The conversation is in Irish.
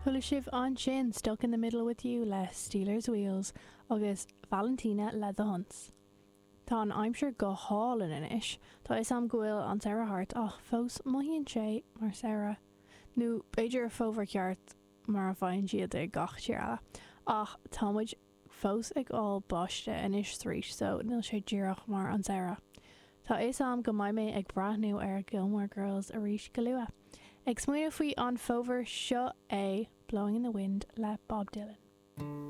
Chuala sibh ansin Stuck in the Middle with You le Stealers Wheels agus Valentina le The Huns. Tá an aimsir go hálainn anois. Tá 'fhios a'm go bhfuil an samhradh thart ach fós mothaíonn sé mar samhradh. Nó b'fhéidir fómhar ceart mar a faigheann siad i gach tír eile. Ach tá muid fós ag fháil báiste anois 's arís so níl sé díreach mar an samhradh. Tá 'fhios a'm go mbeidh mé ag breathnú ar Gilmore Girls arís go luath. Ag smaoineamh faoi an fómhar seo é Blowing in the Wind le Bob Dylan.